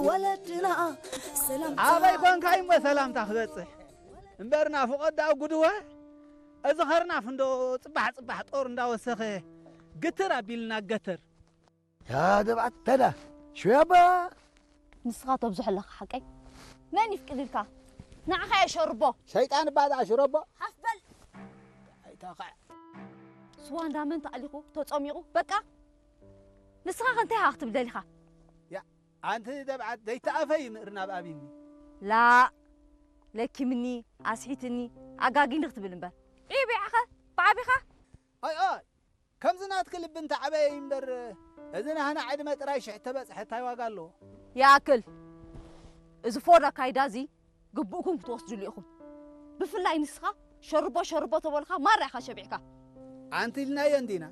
ወለድና ሰላም ኣበይ ኮንካ እሞ ሰላምታ ክበጽሕ እምበር ናፍቖት ደኣ ጉድወ። እዚ ኸርናፍ እንዶ ጽባሕ ጽባሕ ጦር እንዳወሰኸ ግትር ኣቢልና ገተር። ያ ደብዓት ተዳ ሽያባ ንስኻ ተብዝሖ ኣለኻ ሓቀይ። መን ይፍቅድልካ? ንዓኻ እየ ሸርቦ። ሸይጣን እባ ደኣ ሽረቦ። ሓፍ በል። ኣይታኻ። ስዋ እንዳመን ተኣሊኹ ተጸሚቑ በቃ። ንስኻ ከ እንታይ ኢኻ ክትብል ደሊኻ? ያ ኣንቲ ደብዓት ዘይተኣፈ ይምእር ናብ ኣቢኒ። ላ ለኪምኒ ኣስሒትኒ ኣጋጊኒ ክትብል እምበር ዒቢዓኸ ብዓቢኻ ኣይ ኣይ ከምዚ ናትኪ ልቢ እንተዓበየ እዩ እምበር እዚ ናህና ዕድመ ጥራይ ሽሕ ተበጽሐ እንታይ ዋጋ ኣለዎ? ይኣክል። እዚ ፎድ ኣካይዳ እዚ ግቡእኩም ክትወስድሉ ኢኹም። ብፍላይ ንስኻ ሸርቦ ሸርቦ ተበልካ ማራ ኢኻ ሸቢዕካ። ኣንቲ ኢልናዮ እንዲና።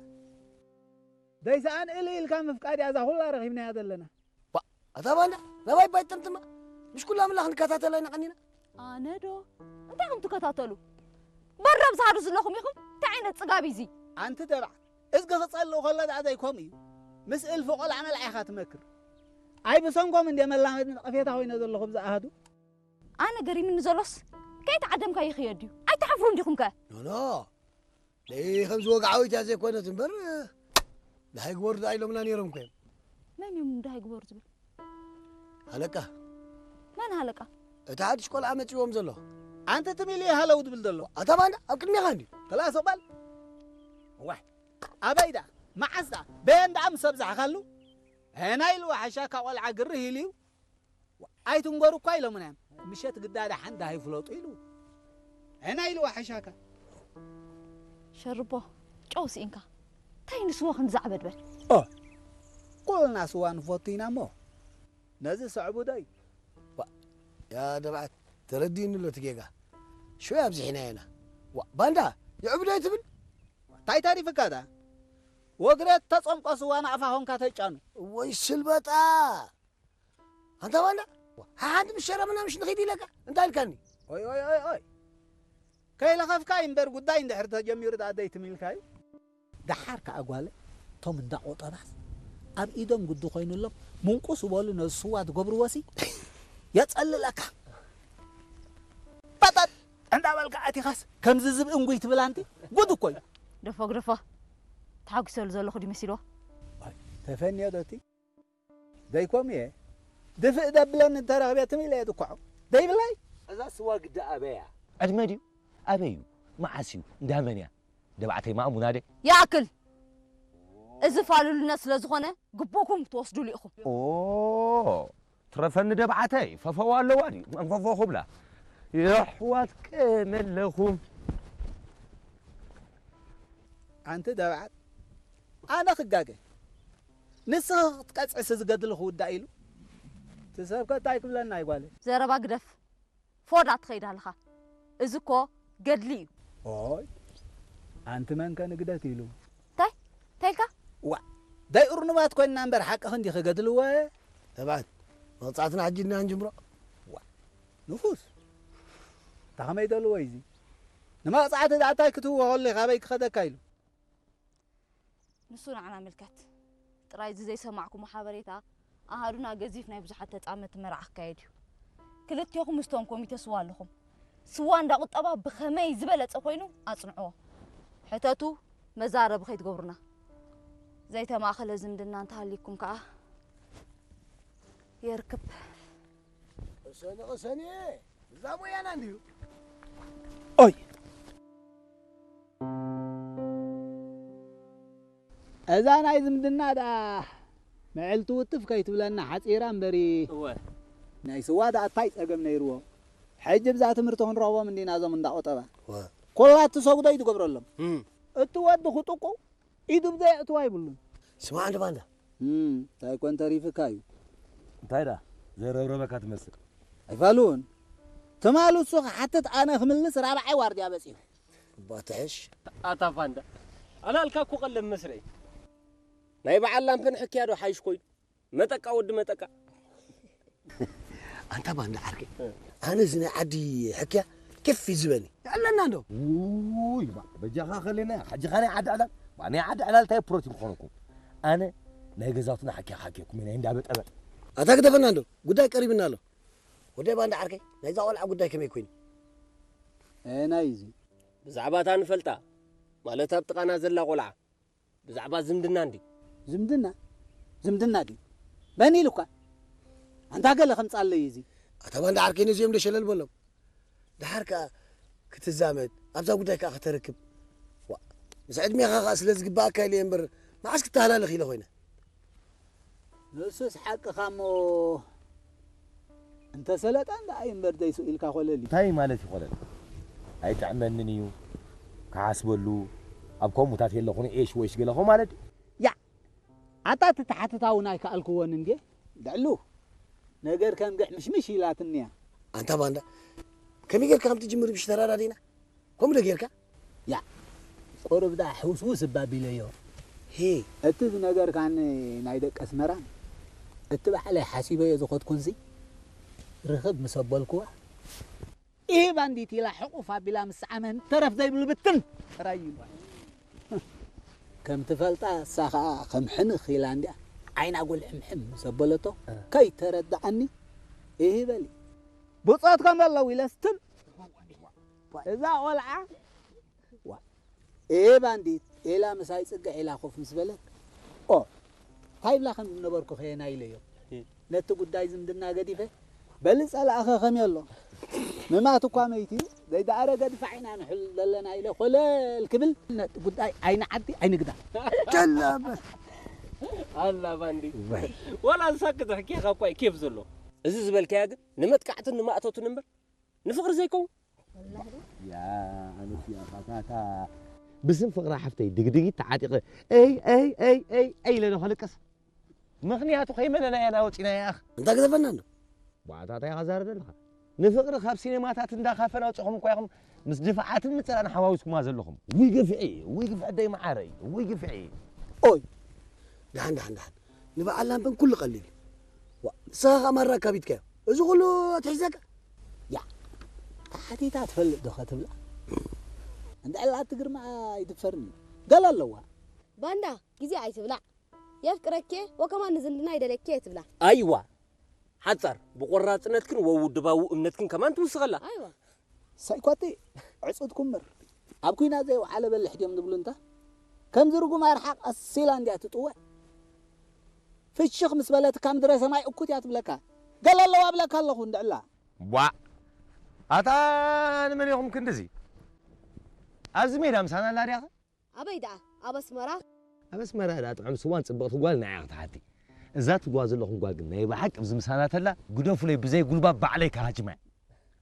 ደይሰኣን እል ኢልካ ምፍቃድ እያ እዛ ኩላ ረኺብናያ ዘለና። ባ ኣታ ባንዳ ናባይ ባይ ጥምጥማ ምሽ ኩላ ምላኽ ንከታተላ ኢና ቀኒና። ኣነ ዶ እንታይ ከም ትከታተሉ በረብ ዝሃዱ ዘለኹም ኢኹም። እንታይ ዓይነት ጽጋብ እዩ እዚ? ኣንቲ ደብዓ እዝጊ ክጸልእ ከሎ ደኣ ዘይከምኡ እዩ። ምስ እልፊ ቆልዓ መልዓ ኢኻ ትመክር። ኣይ ብሰንኮም እንደ መላመዲ ነቐፌታ ኮይነ ዘለኹ ብዛ ኣሃዱ። ኣነ ገሪምኒ ዘሎስ ከይተዓደምካ ይኽየድ እዩ። ኣይትሓፍሩን ዲኹም ከ? ኖ ኖ ደይ ከምዚ ወግዓዊት እያ ዘይኮነት እምበር ደሃይ ግበሩ ደኣ ኢሎምና ነይሮም እኮ እዮም። መን እዮም ደሃይ ግበሩ ዝብል? ሃለቃ። መን ሃለቃ? እቲ ሓድሽ ቆልዓ መጺዎም ዘሎ። ኣንተ ትም ኢሉ ሃለው ዝብል ዘሎ። ኣታ ባንዳ ኣብ ቅድሜኻ እንድዩ። ከላስ እቕበል። ዋይ ኣበይ ደኣ መዓስ ደኣ በየን ደኣ ምስ ኣብዛሕካሉ? ሄና ኢልዋ ሓሻካ ቆልዓ ግርህ ኢሉ እዩ። ኣይትንገሩ እኳ ኢሎምና እዮም። ምሸት ግዳ ደሓን ደሃይ ፍለጡ ኢሉ። ሄና ኢልዋ ሓሻካ። ሸርቦ ጨው ስኢንካ እንታይ ንስዋ ክንዲ ዛዕበድበድ? ኦ ኩልና ስዋ ንፈቱ ኢና እሞ ነዚ ሰዕቡ ዶ እዩ? ዋ ያ ደብዓት ተረዲእኒ ኣሎ እቲ ጌጋ። ሽወይ ኣብዚሕና ኢና። ዋ ባንዳ የዕብዶ ትብል? እንታይ ተሪፍካ ዳ? ወግረት ተጸምቆ ስዋ ናቕፋ ኾንካ ተጫኑ። ወይ ስልበጣ ኣንታ ባንዳ ሓሓንቲ ምስ ሸረምና ምሽ ንኺድ ኢለካ እንታይ ኢልካኒ? ኦይ ኦይ ኦይ ኦይ ከይለኸፍካ እዩ እምበር ጉዳይ እንድሕር ተጀሚሩ ደኣ ደይትም ኢልካ እዩ። ደሓር ከኣ ጓለ እቶም እንዳ ቆጠባስ ኣብ ኢዶም ግዲ ኮይኑሎም ምንቁስ በሉ ነዚ ስዋ ትገብርዎሲ የጸልለካ። በጠጥ እንዳበልካ ኣቲኻስ ከምዚ ዝብኢ እንጉይ ትብል ኣንቲ ጉድ እኮ እዩ። ደፎ ግደፎ ተሓጒሰሉ ዘለኹ ድዩ መሲልዎ? ተፈንዮ ዶ እቲ ዘይኮም እየ ድፍእ ደብለኒ እንተረኽበ ትም ኢለ እየ ድኳዖ ደይብላይ። እዛ ስዋ ግዳ ኣበያ? ዕድመ ድዩ ኣበይ እዩ መዓስ እዩ እንዳመን እያ? ደባዕተይ ማእሙና ደ ይኣክል። እዚ ፋሉልነት ስለ ዝኾነ ግቡእኩም ክትወስዱሉ ኢኹም። ኦ ትረፈኒ ደብዓተይ ፈፈዋ ኣለዋ ድዩ መንፈፎ ክብላ የሕዋት ቀመለኹም። ኣንቲ ደብዓት ኣነ ክጋገ ንስኺ ክትቀጽዕሲ ዝገድሊ ክውዳእ ኢሉ እቲ ሰብከ እንታይ ክብለና ይጓለይ? ዘረባ ግደፍ። ፎዳ ትኸይድ ኣለኻ። እዚ እኮ ገድሊ እዩ። ኦይ ኣንቲ መንከ ንግደት ኢሉ እንታይ እንታይ ኢልካ? ዋ ዳይ እርኑባት ኮይንና እምበር ሓቂ ክንዲ ክገድልዎ። ተባዕት መቕጻዕትና ሕጂ ድና ንጅምሮ። ዋ ንፉስ ታኸመይ ደልዎ እዚ ንመቕጻዕቲ ዳእታይ ክትህዎ ከሎ ካበይ ክኸደካ ኢሉ። ንሱ ንዓና ምልከት። ጥራይ እዚ ዘይሰማዕኩሞ ሓበሬታ ኣሃዱና ገዚፍ ናይ ብዙሓት ተጻመድቲ መርዓ ክካየድ እዩ። ክልቴኹም ምስቶም ኮሚተ ስዋ ኣለኹም። ስዋ እንዳ ቁጠባ ብኸመይ ዝበለጸ ኮይኑ ኣጽንዕዎ። ሕተቱ መዛረቢ ከይትገብሩና። ዘይተማእኸለ ዝምድና እንተሃልይኩም ከኣ የርክብ። ቅሰኒ ቅሰኒ እዛ ሞያና እንድዩ። ኦይ እዛ ናይ ዝምድና ደኣ ምዕልቲ ውትፍ ከይትብለና ሓጺራ እምበሪ። እወ ናይ ስዋ ደኣ እንታይ ጸገም ነይርዎ? ሕጂ ብዛ ትምህርቲ ክንረኽቦም እንዲና እዞም እንዳ ቁጠባ። እወ ኩላ እትሰጉዶ እዩ ትገብረሎም። እም። እቲ ወዲ ክጥቁ ኢዱ ብዘይ ኣእትዋ ይብሉን። ስማዕ እንደ ባንዳ። እም፣ እንታይ ኮን ተሪፍካ እዩ? እንታይ ዳ ዘይረብረበካ ትመስል? ኣይፋሉን። ትማል እሱ ክሓትት ኣነ ክምልስ ራብዓይ ዋርድያ በጺሑ። እባ ትሕሽ። ኣታ ባንዳ። ኣላልካ እኮ ቀለም መስረይ። ናይ በዓል ላምፕን ሕክያ ዶ ሓይሽ ኮይኑ? መጠቃ ወዲ መጠቃ። ኣንታ ባንዳ ዓርከይ፣ ኣነ እዚ ናይ ዓዲ ሕክያ ኬፍ እዩ ዝበኒ። ኣለና እንዶ። ውይ፣ ባ፣ በጃኻ ከለና፣ ሓጂ ኻና ዓዲ ዕላል። ባ፣ ናይ ዓዲ ዕላል እንታይ ፕሮቲን ክኾነኩም? ኣነ ናይ ገዛውትና ሓኪያ ሓኪኩም፣ ናይ እንዳበጠበጥ። ኣታ ግደፈና እንዶ፣ ጉዳይ ቀሪብና ኣሎ። ወደ ባንዳ ዓርከይ፣ ናይዛ ቆልዓ ጉዳይ ከመይ ኮይኑ? ኣየናይ እዩ እዚ? ብዛዕባ እታ ንፈልጣ፣ ማለት ኣብ ጥቓና ዘላ ቆልዓ፣ ብዛዕባ ዝምድና እንዲ። ዝምድና? ዝምድና ድዩ? መን ኢሉካ? ኣንታ ገለ ከምጻለይ እዚ። ኣታ ባንዳ ዓርከይ፣ ነዚኦም ዶ ሸለል በሎም። ደሓር ከኣ ክትዛመድ፣ ኣብዛ ጉዳይ ከኣ ከተርክብ። ዋ፣ ምስ ዕድሜኻ ከኣ ስለ ዝግባኣካ ኢለ እየ እምበር፣ መዓስ ክተሃላለኽ ኢለ ኮይነ። ንሱስ ሓቅኻ እሞ፣ እንተሰለጠ እንዳ ኣይ እምበር ዘይስኡ ኢልካ ኮለል እዩ። እንታይ ማለት እዩ ኮለል? ኣይጥዕመንን እዩ፣ ክሓስበሉ፣ ኣብ ከምኡታት የለኹን ኤሽ ወይሽ ገለኹ ማለት እዩ። ያ፣ ኣታ እቲ ተሓትታ እውን ኣይከኣልክዎን እንድየ። ልዕሉ ነገር ከም ግሕ ምሽምሽ ኢላትኒ እያ። ኣንታ ባንዳ፣ ከመይ ጌርካ ከም ትጅምር ብሽ ተራዳዲና? ከምኡ ዶ ጌርካ? ያ፣ ቁሩብ ደኣ ሕውስውስ እባ ቢለዮ። ሄ። እቲ ዝነገርካኒ ናይ ደቂ ኣስመራ፣ እቲ ባዕለይ ሓሲበዮ ዝኸድኩንሲ፣ ርኽብ ምስ ኣበልክዋ፣ ኢሂ ባንዲት ኢላ ሕቑፍ ኣቢላ ምስ ሰዓመን ተረፍ ዘይብሉ ብትን ጥራይ እዩ። ከም ትፈልጣ እሳ ኸኣ ከም ሕንኽ ኢላ እንድያ ዓይና ጉልሕምሕም ምስ ኣበለቶ እ። ከይተረድኣኒ ኢሂ በሊ። ብጾት ከም ኣለዉ ኢለ ስትም እዛ ቆልዓ ዋ፣ ኤ ባንዲት ኤላ ምሳይ ጽግዕ ኢላ ኮፍ ምስ በለት፣ ኦ፣ እንታይ ብላ ከም ዝነበርኩ ከየና ኢለዮ። ነቲ ጉዳይ ዝምድና ገዲፈ፣ በሊ ጸላእኸ ከመይ ኣሎ? ምማት እኳ መይት እዩ፣ ዘይደኣረገ ድፋዕ ኢና ንሕል ዘለና ኢለ ኮለል ክብል፣ ነቲ ጉዳይ ዓይኒ ዓዲ ኣይንግዳ። ጨላ በል። ኣላ ባንዲ። ወይ። ወላ ንሳ ክትሕኪኻ እኳ እዩ ኬፍ ዘሎ። እዚ ዝበልካያ ግን ንመጥቃዕትን ንማእቶትን እምበር ንፍቕሪ ዘይከውን። ያ ኣነስ ያ ፋታታ ብስም ፍቕራ ሓፍተይ ድግድጊት ተዓጢቐ እይ እይ እይ እይ እይ ኢለ ዶ ከልቅስ? ምኽንያቱ ከይመለናያ ኢና ወፂናያ ኣኽ። እንታይ ግደፈና ኣሎ? ባዕታ እንታይ ኢኻ ዛረብ ዘለኻ? ንፍቕሪ ካብ ሲኔማታት እንዳ ካፈን ኣውፂኹም እኳ ኢኹም ምስ ድፋዓትን ምፅራን ሓዋዊስኩማ ዘለኹም። ውይ ግፍዒ፣ ውይ ግፍዒ ደይ መዓረይ፣ ውይ ግፍዒ። ኦይ፣ ደሓን፣ ደሓን፣ ደሓን። ንበዓል ላምበን ኩሉ ቀሊል እዩ። ዋ፣ ንስኻ ኸኣ ማራ ኣካቢድካዮ። እዚ ኩሉ ኣትሒዘካ? ያ፣ ተሓቲታ ትፈልጥ ዶ ኸትብላ? እንድዕላ እቲ ግርማ ኣይድፈርን እዩ። ገለ ኣለዋ። ባንዳ፣ ግዜ ኣይትብላዕ። የፍቅረኪ ወከማን ንዝምድና ይደለኪ እየ ትብላ። ኣይዋ፣ ሓጻር፣ ብቆራጽነትክን ወውድባዊ እምነትክን ከማን ትውስኸላ። ኣይዋ። ሳይኳቲ ዕጹት ኩምር ኣብ ኩናት ዘይወዓለ በልሕ ድዮም ዝብሉ እንታ ከምዚ ርጉም ኣርሓቕ ኣሲላ እንድያ ትጥወ። ፍሽኽ ምስ በለትካ ምድረ ሰማይ እኩት እያ ትብለካ። ገለ ኣለዋ እብለካ ኣለኹ እንድዕላ። ቧዕ! ኣታ ንመን ኢኹም ክንድዚ? ኣብዚ ሜዳ ምሳና ኣላ ድያኸ? ኣበይ ደኣ? ኣብ ኣስመራ? ኣብ ኣስመራ ደኣ ጥዑም ስዋን ጽብቕቲ ጓል ንዓያ ክትሓቲ። እዛ ትብልዋ ዘለኹም ጓል ግን ናይ ብሓቂ ኣብዚ ምሳና ተላ ግደፉለይ ብዘይ ጉልባብ ባዕለይ ክሃጅማ እየ።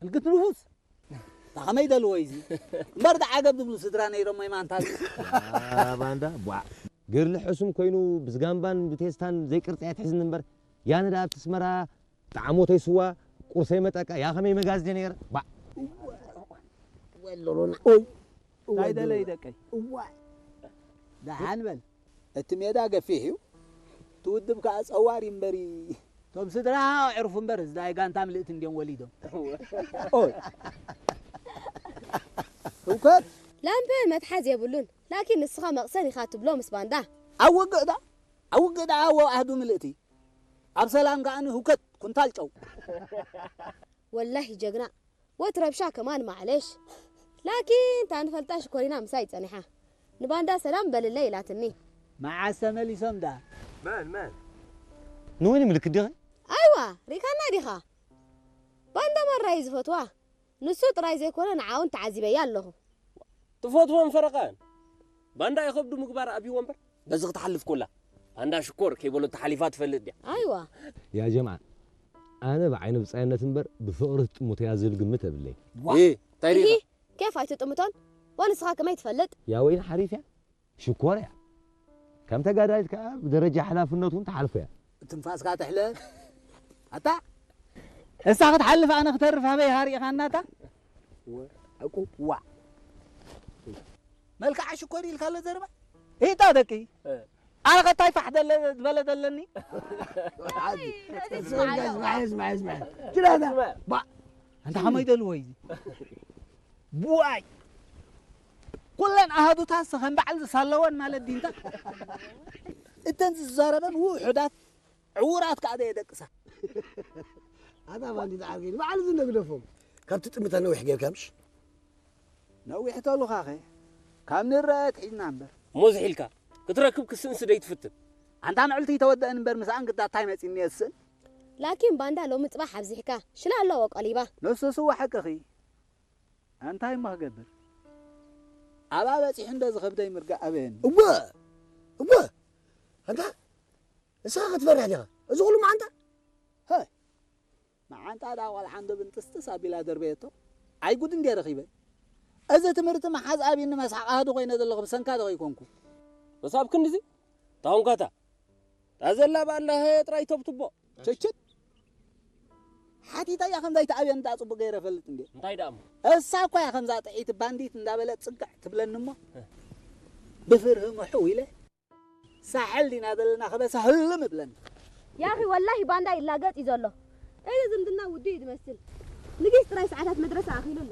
ህልክት ንፉስ! ታ ኸመይ ደልዎ እዩ እዚ? እምበር ደኣ ዓገብ ዝብሉ ስድራ ነይሮም ወይ ማንታ? ኣ፣ ባንዳ፣ ቧዕ! ገርሊ ሕሱም ኮይኑ ብዝጋምባን ብቴስታን ዘይቅርጺ ኣይትሕዝኒ እምበር ያነ ደኣ ኣብቲ ኣስመራ ጣዕሞተይ ስዋ ቁርሰይ መጠቃ ያ ኸመይ መጋዝ ድየ ነይረ? ባዕ! ወሎሎና። ኦይ! እንታይ ደለይ ደቀይ? እዋይ! ደሓን በል። እቲ ሜዳ ገፊሕ እዩ። እቲ ውድብ ከኣ ጸዋር እዩ እምበሪ። እቶም ስድራ ኣዕሩፍ እምበር፣ እዚ ናይ ጋንታ ምልእቲ እንድዮም ወሊዶም። ኦይ! ህውከት! ላምፐ መትሓዝ የብሉን። ላኪን ንስኻ መቕሰን ኢኻ ትብሎ ምስ ባንዳ። ኣብ ውግእ ደኣ፣ ኣብ ውግእ ደኣ ኣዎ ኣህዱ ምልእቲ። ኣብ ሰላም ከኣ ንህውከት ኩንታል ጨው። ወላሂ ጀግና። ወት ረብሻ ከማን ማዕለሽ። ላኪን ታንፈልጣ ሽኮሪና ምሳይ ጸኒሓ። ንባንዳ ሰላም በልለይ ኢላትኒ። መዓስ ተመሊሶም ደኣ? መን፣ መን? ንወይኒ ምልክት ዲኺ? ኣይዋ፣ ሪካና ዲኻ? ባንዳ ማራ እዩ ዝፈትዋ። ንሱ ጥራይ ዘይኮነ ንዓውን ተዓዚበያ ኣለኹ። ትፈትዎን ፈረቓን። ባንዳ ይኸብዱ ምግባር ኣብይዎ እምበር፣ በዚ ክትሓልፍ ኮላ። ባንዳ ሽኮር ከይበሎ ተሓሊፋ ትፈልጥ ድያ? ኣይዋ። ያ ጀምዓ፣ ኣነ ብዓይኒ ብጻይነት እምበር ብፍቕሪ ትጥምቶ እያ ዝብል ግምት የብለይ። ዋ! እ፣ እንታይ ኢሂ፣ ሪኢኻ? ኬፍ ኣይትጥምቶን? ወንስኻ ከመይ ትፈልጥ? ያ ወይኒ ሓሪፍ እያ፣ ሽኮር እያ። ከም ተጋዳሊት ከኣ ብደረጃ ሓላፍነት እውን ትሓልፎ እያ። ትንፋስካ ትሕለፍ። ኣታ፣ እሳ ክትሓልፍ ኣነ ክተርፍ ኣበይ ሃሪእኻናታ? ወ-፣ ዕቁ-፣ ዋ። መልክዓ ሽኮር ኢልካ ኣሎ ዘረባ? ኢጣ ደቂ። እ። ኣነ ኸታይ ፋሕ ደለ-፣ ዝበለ ዘለኒ? ዓዲ። እዚ ስማዕ፣ ስማዕ፣ ስማዕ፣ ስማዕ። ችላታ። ስማዕ። ባ-፣ ኣንታ ኸመይ ደልዎ እዩ? ቡኣይ። ኩለን ኣሃዱታትስ ከም በዓል ዝሳለወን ማለት ድዩ እንታ? እተን ዝዛረበን ውሑዳት ዕውራት ከኣ ዘየደቅሳ። ኣታ ባንዲት ዓርከይ፣ ንባዕሉ ዝነግደፎም። ካብቲ ጥምታ ነዊሕ ጌርካ ምሽ? ነዊሕ ተሉኻኸ? ካብ ንረኣየት ሒዝና እምበር። እሞ ዝሒልካ ክትረክብ ክስእንስ ደይትፍትን? ኣንታ ምዕልቲ ይተወደአን እምበር፣ ምስኣን ግዳ እንታይ መጺኒ የስእን? ላኪን ባንዳ ሎሚ ጽባሕ ኣብዚሕካ። ሽላ ኣለዎ ቆሊባ። ነሱስ እወ ሓቅኺ። ኣንታይ እሞ ክገብር? ኣብኣ በጺሑ እንዶ ዝኸብደይ ምርጋእ ኣበየኒ። እወ፣ እወ። ኣንታ፣ ንስኻ ክትፈርሕ ዲኻ? እዚ ኩሉ መዓንጣ? ሀይ፣ መዓንጣ ደኣ ቆልዓ እንዶ ብንጥስጥስ ኣቢላ ደርበየቶ። ኣይ ጉድ እንድየ ረኺበ። እዚ ትምህርቲ መሓዝ ኣብኒ መስሓቕ ኣሃዱ ኮይነ ዘለኹ ብሰንካ ዶ ከይኮንኩ? መሳብ ክንድዚ? ታሁንካታ። ታዘላ ባላ ጥራይ ተብትቦ። ችችት። ሓቲታ እያ ከምዛ ኣይትኣብየኒ ደኣ ጽቡቕ ገይረ እፈልጥ እንድየ። እንታይ ደኣ እሞ? እሳ እኳ እያ ከምዛ ጥዒት ባንዲት እንዳበለት ጽግዕ ትብለኒ እሞ። እ። ብፍርሂ ምሕው ኢለ ሳሕል ዲና ዘለና ከበሳ ህልም እብለኒ። ያኺ ወላሂ ባንዳ ይላገጥ እዩ ዘሎ። እዚ ዝምድና ውዱእ እዩ ዝመስል። ንጊስ ጥራይ ሰዓታት መድረሳ ኣኺሉ ኣሎ።